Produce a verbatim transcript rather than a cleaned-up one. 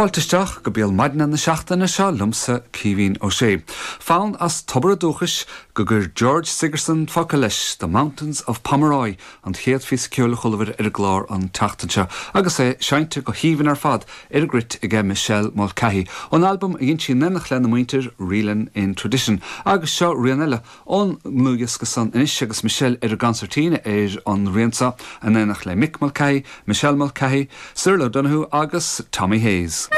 Fáilte isteach go béal maidine na seachtaine seo liomsa Caoimhín Ó Sé. Fonn as tobar a dúchais go gcuir George Sigerson focail leis The Mountains of Pomeroy an chéad phíosa ceoil a chualamar ar an gclár an tseachtain seo, agus é seinnte go haoibhinn ar fad ar an gcruit ag Michelle Mulcahy. Ón albam a dhein sí in éineacht lena muintir Reelin in Tradition, agus seo rian eile ón ndlúthdhiosca san anois agus Michelle ar an gconsairtín ar an rian seo in éineacht le Mick Mulcahy, Michelle Mulcahy, Cyril O'Donoghue agus Tommy Hayes.